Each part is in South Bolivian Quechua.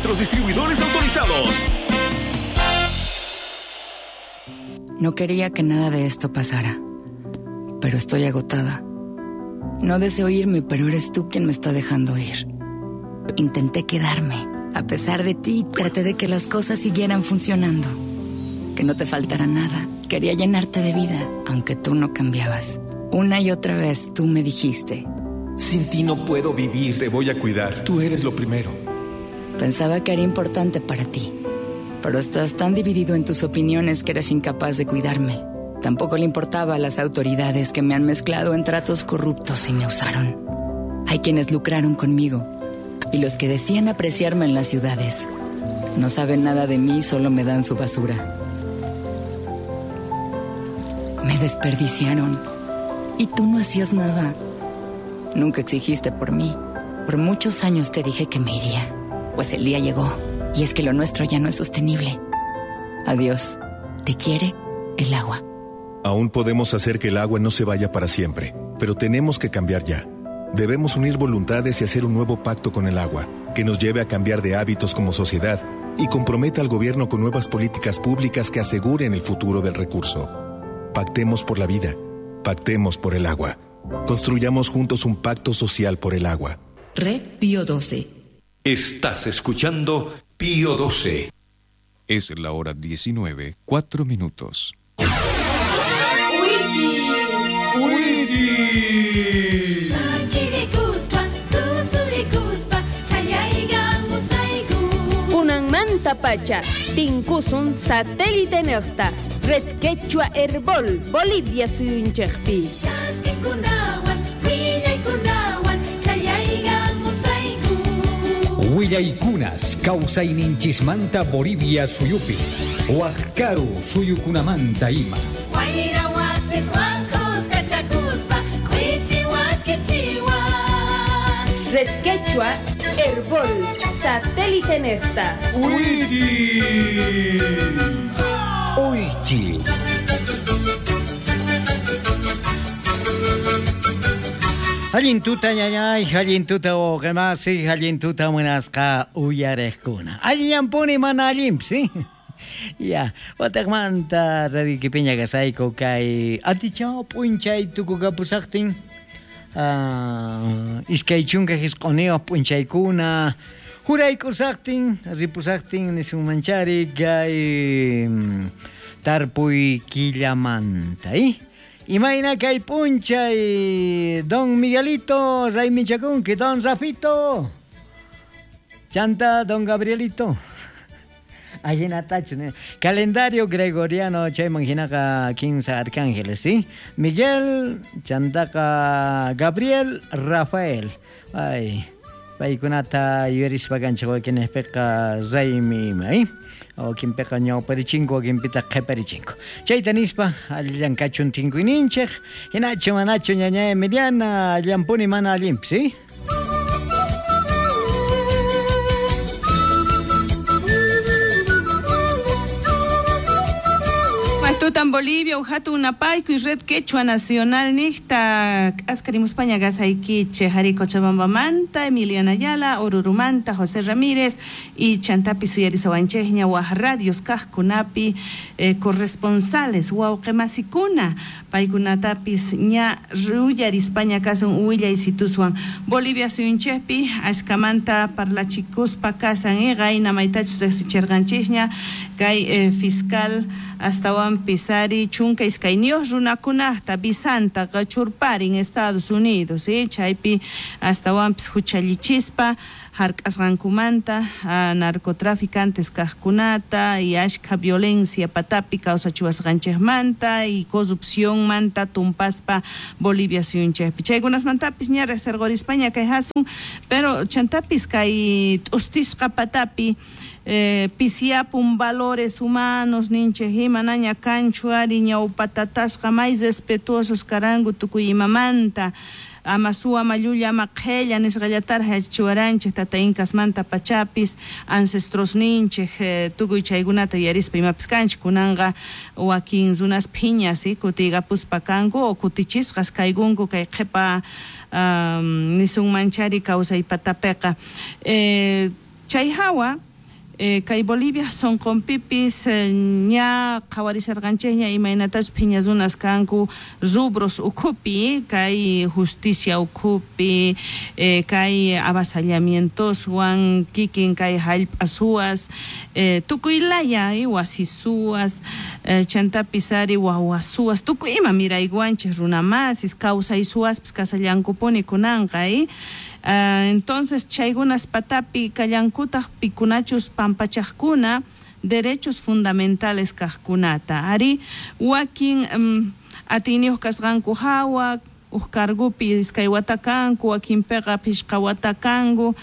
nuestros distribuidores autorizados. No quería que nada de esto pasara, pero estoy agotada. No deseo irme, pero eres tú quien me está dejando ir. Intenté quedarme. A pesar de ti, traté de que las cosas siguieran funcionando. Que no te faltara nada. Quería llenarte de vida, aunque tú no cambiabas. Una y otra vez tú me dijiste: Sin ti no puedo vivir. Te voy a cuidar. Tú eres lo primero. Pensaba que era importante para ti, pero estás tan dividido en tus opiniones que eres incapaz de cuidarme. Tampoco le importaba a las autoridades que me han mezclado en tratos corruptos y me usaron. Hay quienes lucraron conmigo y los que decían apreciarme en las ciudades. No saben nada de mí, solo me dan su basura. Me desperdiciaron y tú no hacías nada. Nunca exigiste por mí. Por muchos años te dije que me iría. Pues el día llegó y es que lo nuestro ya no es sostenible. Adiós. Te quiere el agua. Aún podemos hacer que el agua no se vaya para siempre, pero tenemos que cambiar ya. Debemos unir voluntades y hacer un nuevo pacto con el agua, que nos lleve a cambiar de hábitos como sociedad y comprometa al gobierno con nuevas políticas públicas que aseguren el futuro del recurso. Pactemos por la vida. Pactemos por el agua. Construyamos juntos un pacto social por el agua. Red Pío 12. Estás escuchando Pío 12. Es la hora 19:04. Kunanmanta pacha, tinkusun satélite nejta, Red Quechua Herbol, Bolivia suyunchejpi. Willaykunas kawsayninchismanta Bolivia suyupi, Huajcaru suyukunamanta ima. Red Quechua Herbol, satélite nefta. ¡Uichi! ¡Uichi! Allin tuta ñañay, allin tuta wawqimasi, allin tuta munasqa uyariqkuna. Allinyanpuni mana allinpis, ¿sí? Ya, wataqmanta radioykipiña kasayku kay atichaw p'unchay tukukapusaqtin. 29 p'unchaykuna juraykusaqtin, ripusaqtin nisunmanchari kay tarpuy killamanta, ¿eh? Imayna kay p'unchay don Miguelito raymichakunki, don Rafito, chanta don Gabrielito. Ajinatachu, ¿no? Calendario gregoriano chayman hinaqa 15 arcángeles, ¿sí? Miguel, chantaqa Gabriel, Rafael. Ay, paykunata yuyarispa kanchik wakinpiqa raymi ima, ¿eh? Wakinpiqa ñawparichinku, wakinpitaq qhiparichinku. Chayta nispa allillan kachun tinkuyninchik, hinachu manachu ñaña Emiliana, allanpuni mana allinpis, ¿sí? Tutan Bolivia, Ujatu Unapayku y Red Quechua Nacional Nixta, Askarimuspaña Gasayquiche, Jari Cochabambamanta, Emiliana Ayala, Orurumanta, José Ramírez y Chantapi Suyarisawanchejña, Radios Kajkunapi, corresponsales, Huauquemasikuna, Paykunatapis, Ña Ruyarispaña Kasun, Huilla y Situsuan, Bolivia Suyunchepi, Ashkamanta, Parlachikuspa, Kasan, Gaina Maitachus, Exicherganchesña, Kay Fiscal, Astawan Pisari, Chunka iskayniyuq runakunaqta Bisanta qachurparin Estados Unidos, chaypi astawanpis huchallichispa hark'asqankumanta narcotraficantes kaqkunata y ashkha violencia patapi kawsachiwasqanchikmanta y corrupcionmanta tumpaspa Bolivia suyunchikpi. Chaykunasmantapis ña resergorispaña kay hasun, pero chantapis kay t'ustisqa patapi pisiapun valores humanos ninchik imanaña kanchu ari ñawpatatasqa may respetuosos karanku tukuy imamanta ama suwa ama llulla ama qhella nisqallataraq yachachiwaranchik tata incasmanta pachapis ancestros ninchik tukuy chaykunata yuyarispa imapis kanchik kunanqa wakin runas phiñas kutiykapuspa kanku o kutichisqas kaykunku kay qhipa nisunmanchari kawsaypatapiqa chay hawa. Kay Bolivia sonqonpipis ña qhawarisharqanchikña imaynatachus phiña runas kanku rubros ukhupi, kay justicia ukhupi, kay avasallamientoswan, kikin kay hallp'a suwas, tukuy laya wasi suwas, chantapis ari wawa suwas, tukuy ima miraykuwanchik runamasis, kawsay suwaspis kasallankupuni kunanqa. Entonces chaykunas patapi kallankutaq pikunachus pampachaqkuna derechos fundamentales kaqkunata. Ari wakin atiyniyuq kasqanku hawa uj cargupi iskay wata kanku, wakinpiqa phishqa wata kanku,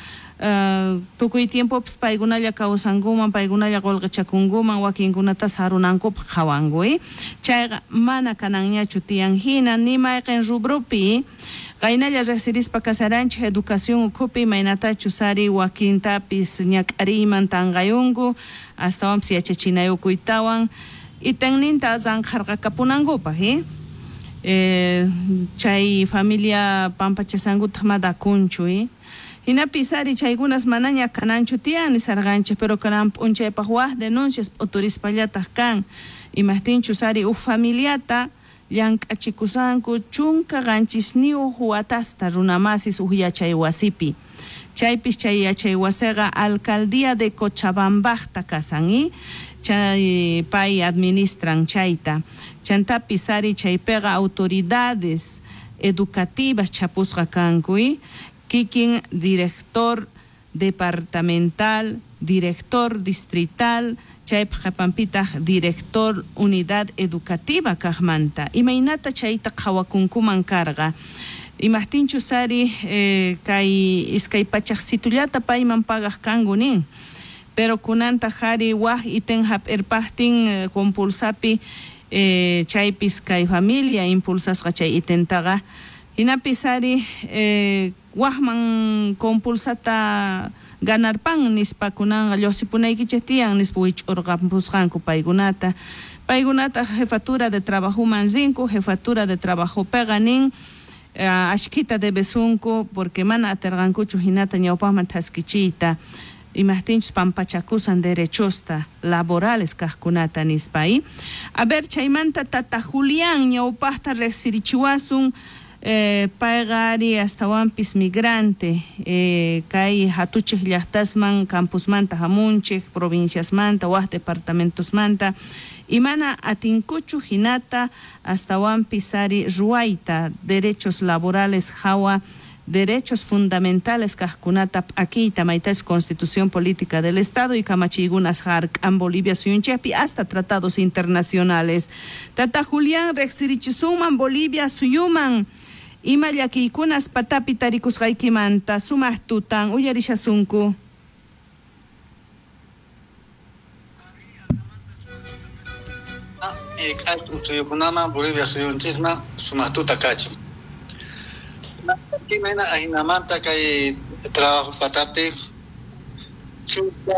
tukuy tiempopis paykunalla kawsankuman, paykunalla qullqichakunkuman, wakinkunata sarunankupaq qhawanku. Chayqa mana kananñachu tiyan hina ni mayqin rubropi. Qaynalla riqsirispa kasaranchik educación ukhupi imaynatachus ari wakintapis ñak'ariyman tanqayunku, astawanpis yachachinayukuytawan itenninta ranqharqakapunankupaq. Chay familia pampachasankutaq madakunchu. Hinapis ari chaykunas manaña kananchu tiyan nisarqanchik, pero kanan p'unchaypaq waj denuncias p'uturispallataq kan. Imajtinchus ari uj familiata llank'achikusanku 17 watasta runamasis uj yachay wasipi. Chaypis chay yachay wasiqa alcaldía de Cochabambajta kasan, chay pay administran chayta. Chantapis ari chaypiqa autoridades educativas chapusqa kanku, kikin director departamental, director distrital, chaypaq qhapanpitaq director unidad educativa kaqmanta. Imaynata chayta qhawakunkuman karqa. Imajtinchus ari kay iskay pachaqsitullata payman pagaq kanku nin. Pero kunantaq ari waj iten hap'irpaqtin compulsapi chaypis kay familia impulsasqa chay itentaqa. Hinapis ari wajman compulsata ganarpan nispa kunanqa lluqsipunaykichik tiyan nispa wich'urqampusqanku paykunata. Paykunata jefatura de trabajoman rinku, jefatura de trabajopiqa nin ashkita debesunku porque mana atirqankuchu hinata ñawpaqman thaskichiyta. Imajtinchus pampachakusan derechosta laborales kaqkunata nispa. A ver, chaymanta tata Julián ñawpaqta riqsirichiwasun. Payqa ari astawanpis migrante, kay hatuchik llaqtasman campusmanta hamunchik, provinciasmanta, waj departamentosmanta, imana atinkuchu hinata astawanpis ari ruwayta derechos laborales hawa derechos fundamentales kaqkunata p'akiyta maytachus Constitución Política del Estado y kamachiykunas hark'an Bolivia suyunchikpi hasta tratados internacionales. Tata Julián riqsirichisunman Bolivia suyuman ima llakiykunas patapi tarikusqaykimanta sumaq tutan uyarishasunku. Suyukunaman Bolivia suyunchisman sumaq tuta kachun. Imena ahinamanta kay trabajo patapi chuta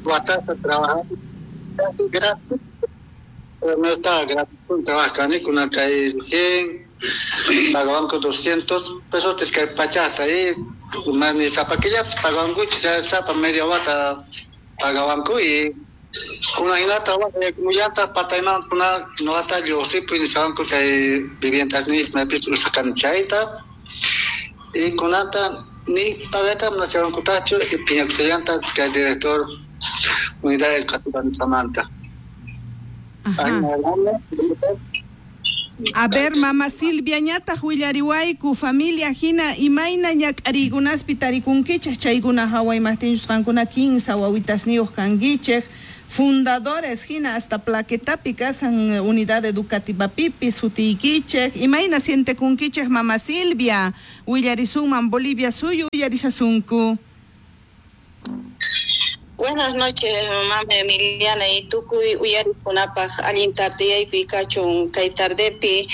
watata trabaja gratis, no está gratis trabajani kuna kay 100 pagaban con 200 pesos kay pachata y mani zapaquilla pagaban ya zapa media wata pagaban y kuna hinata muyanta patayman kuna noata lluqsipu nisawanku chay viviendas nisma pis usakan chayta y kunata ni pagata manachawankutachu y piñakusallanta kay director unidad educativa nisamanta. A ver, mama Silvia ñataq willariwayku familia hina imayna ñak'ariykunaspi tarikunkichik chaykuna hawa imajtinchus qankuna 15 wawitasniyuq kankichik fundadores hina hasta plaquetapi kasan unidad educativa pipi sutiykichik imayna sientekunkichik mama Silvia willarisunman Bolivia suyu uyarishasunku. Buenas noches, mama Emiliana y tukuy uyarikunapaq allin tardeyaykuy kachun kay tardepi.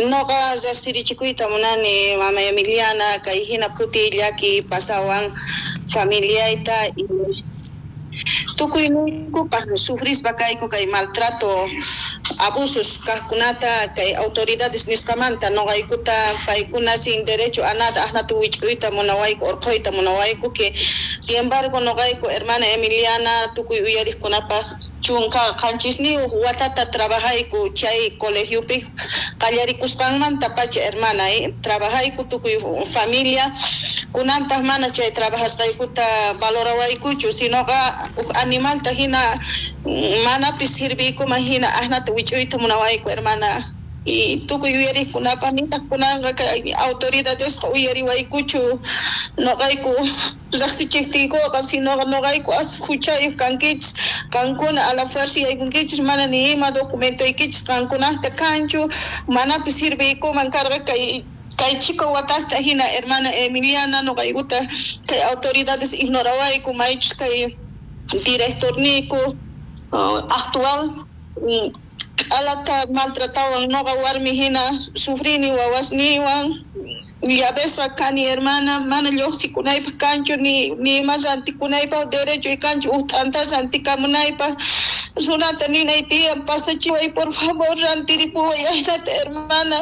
Noqa riqsirichikuyta munani mama Emiliana kay hina phuti llaki pasawan familiayta y Tukuyniykupaj sufrispa kayku kay maltrato, abusos kajkunata kay autoridades nisqamanta noqaykuta paykuna sin derecho a nada ajnata wich'uyta munawayku orqhuyta munawayku que sin embargo noqayku hermana Emiliana tukuy uyariqkunapaj 17 watata trabajayku chay colegiopi qallarikusqanmanta pacha hermana trabajayku tukuy familia kunantaj mana chay trabajasqaykuta valorawaykuchu sinoqa uj animalta hina manapis sirviykuman hina ajnata wich'uyta munawayku hermana y tukuy uyariqkunapaj nitaq kunanqa kay autoridadesqa uyariwaykuchu noqayku riqsichiqtiykuqa sinoqa noqayku as huchayuq kankichis qankuna a la fuerza yaykunkichis mana ni ima documentoykichis qankunaqta kanchu manapis sirviykuman karqa kay chico watasta hina hermana Emiliana noqaykuta kay autoridades ignorawayku maychus kay directorniyku actual alata maltratawan noqa warmi hina sufrini wawasniwan llavesqa kani hermana mana lluqsikunaypaq kanchu ni ima rantikunaypaq derecho kanchu uj t'anta rantikamunaypaq runata ninay tiyan pasachiway por favor rantiripuway ajnata hermana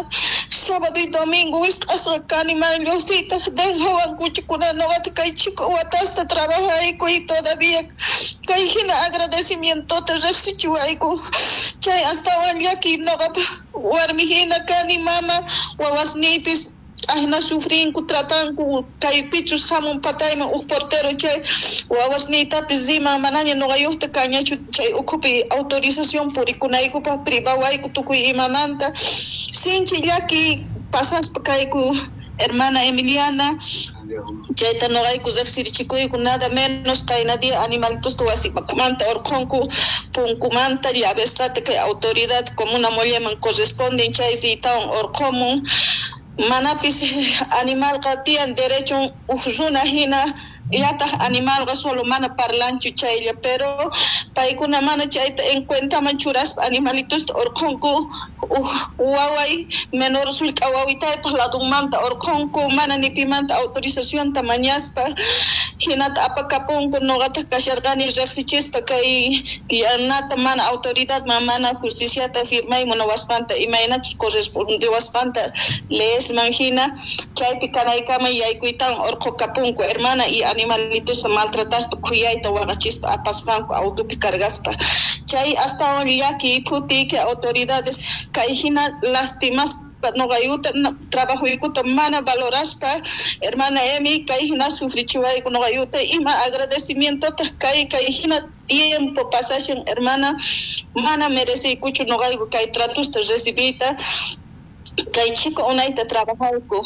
sábado y domingo wisq'asqa kani mana lluqsiyta dejawankuchu kunan noqata kay chico watasta trabajayku y todavía kay hina agradecimientota riqsichiwayku chay astawan llaki noqapaq warmi hina kani mama wawasniypis ajna sufrinku tratanku kay pichus hamun patayman uj portero chay wawasniytapis riman manaña noqayuqta kañachu chay ukhupi autorización purikunaykupaq privawayku tukuy imamanta sinchi llaki pasaspa kayku hermana Emiliana chayta noqayku riqsirichikuyku nada menos qayna día animalitusta wasikumanta orqhunku punkumanta llavesqata kay autoridad comuna molleman corresponden chay riytawan orqhumun manapis animalqa tiyan derecho uj runa hina yataq animalqa solo mana parlanchu chaylla pero paykuna mana chayta en cuentaman churaspa animalitusta orqhunku uj waway menor sullk'a wawitaypaq ladunmanta orqhunku mana ni pimanta autorizacionta mañaspa hinata apakapunku noqataq kasharqani riqsichispa kay tiyanata mana autoridadman mana justiciata firmay munawasqanta imaynachus correspondewasqanta leesman hina chaypi kanaykama yaykuytawan orqhukapunku hermana y animalitusta maltrataspa khuyayta waqachispa apasqanku autopi cargaspa chay astawan llaki phuti que autoridades kay hina lastimaspa noqayuta trabajoykuta mana valoraspa hermana Emi kay hina sufrichiwayku noqayuta ima agradecimientotaq kay hina tiempo pasashan hermana mana mereciykuchu noqayku kay tratusta recibiyta kay chico unayta trabajayku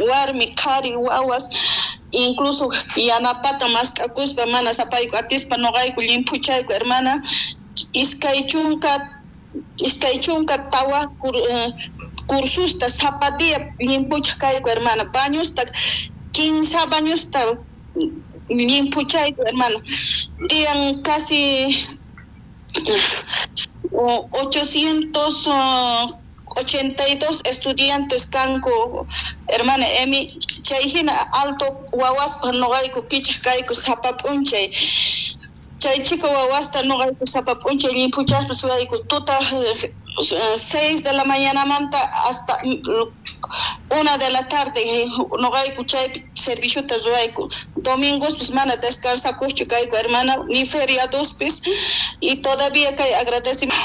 warmi qhari wawas incluso yanapata mask'akuspa mana sapayku atispa noqayku llimphuchayku hermana 24 cursusta sapa día llimphuchaj kayku hermana bañusta 15 bañusta llimphuchayku hermana tiyan casi 882 estudiantes kanku hermana Emi chay hina alto wawaspa noqayku pichaj kayku sapa p'unchay chay chico wawasta noqayku sapa p'unchay llimphuchaspa suyayku tuta 6 de la mañanamanta hasta 1 de la tarde noqayku chaypi serviciota ruwayku domingospis mana descansakuqchu kayku hermana ni feriadospis y todavía kay agradecimiento.